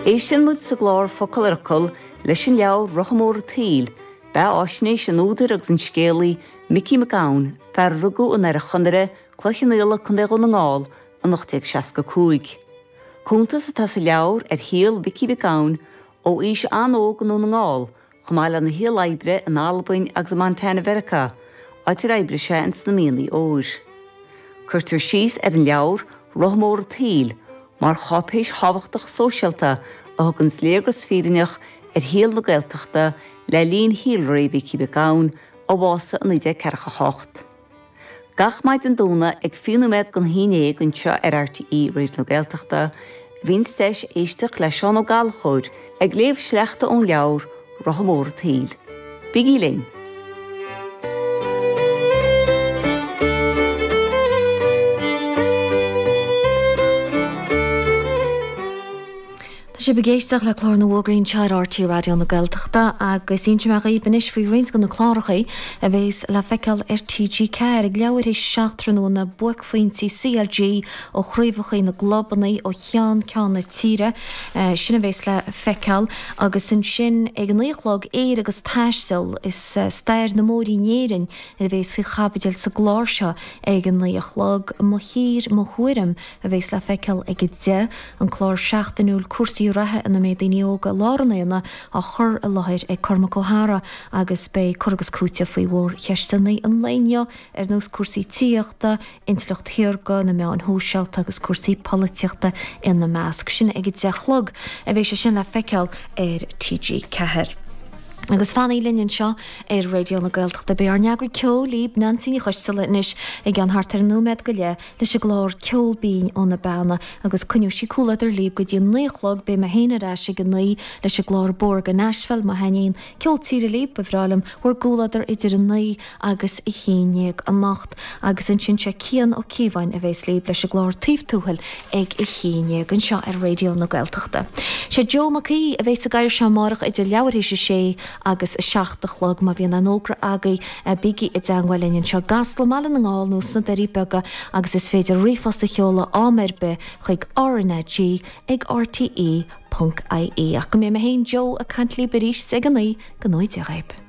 Éisteann muid sa gclár Focal ar Fhocal leis an leabhar Rotha Mór an tSaoil, beatháisnéis an údair agus an scéalaí Micí Mac Gabhann, fear a rugadh i nDoire Chonaire, Cloich Cheann Fhaola, Co. Dhún na nGall, in 1865. Cuntas atá sa leabhar ar shaol Mhicí Mhic Gabhann ó aois an-óg i nDún na nGall chomh maith lena shaol oibre in Albain agus i Montana Mheiriceá, áit ar oibrigh sé ins na mianaigh óir. Cuirtear síos ar an leabhar, Rotha Mór an tSaoil, mar cháipéis thábhachtach sóisialta a thuganns léargas fírinneach ar shaol na Gaeltachta le linn shaolré Mhicí Mhic Gabhann, a bhásaigh i 1948. Gach maidin Domhnaigh ag 20 nóiméad don haon dhéag anseo ar RTÉ Raidió na Gaeltachta a bhíonns deis éisteacht le Seán Ó Gallchóir ag léamh sleachta ón leabhar Rotha Mór an tSaoil. Bígí linn! Tá sibh ag éisteacht le Clár na bhFógraí anseo ar RTÉ Raidió na Gaeltachta agus inseoidh mé dhaoibh anois faoi roinnt de na cláracha a bhéas le feiceáil ar TG4 ag leathuair théis a 7 tráthnóna, buaicphointí CLG ó chraobhacha na gclubanna ó cheann ceann na tíre, sin a bhéas le feiceáil agus ansin ag a 9 a chlog, Éire agus Taisteal, is stair na mbóithrí in Éirinn a bhéas faoi chaibidil sa gclár seo ag a 9 a chlog, Mo Thír, Mo Thuairim a bhéas le feiceáil ag a 10. An clár seachtainiúil cúrsaí reatha ina mbeidh daoine óga i lár an aonaigh á chur i láthair ag Cormac Ó hEadhra agus beidh cur agus cúiteamh faoi mhórcheisteanna an lae inniu ar nós cúrsaí tithíochta, intleacht shaorga, na meáin shóisialta agus cúrsaí polaitíochta ina measc. Sin ag a 10 a chlog a bheidh sé sin le feiceáil ar TG4. Agus fanaigí linn anseo ar Raidió na Gaeltachta. Beidh ár n-eagraí ceoil libh, Neansaí Ní Choisdealbha, anois i gceann thart ar nóiméad go leith. leis an gclár Ceol Binn ó na Beanna agus coinneoidh sí comhluadar libh go dtí an 9 a chlog. Beidh mé féin ar ais ag a 9 leis an gclár Bóthar go Nashville. Má thaitníonn ceol tíre libh, ba bhreá liom bhur gcomhluadar idir a 9 agus a 11 anocht. Agus ansin sé Cian Ó Cíobháin a bhéas libh leis an gclár Taobh Tuathail ag a 11 anseo ar Raidió na Gaeltachta. Sé Joe Mac Aoidh a bhéas sa gcathaoir seo amárach idir leathuair théis a sé agus a 7 a chlog. Má bhíonn aon fhógra agaibh, bígí i dteangmháil linn anseo i gCasla, i mBaile na nGall nó sna Doirí Beaga agus is féidir ríomhphost a sheoladh am ar bith chuig RnaG ag rte ponc ie. Ach go mbeidh mé féin, Joe, ag caint libh arís ag a 9, go ngnóthaí Dia dhaoib.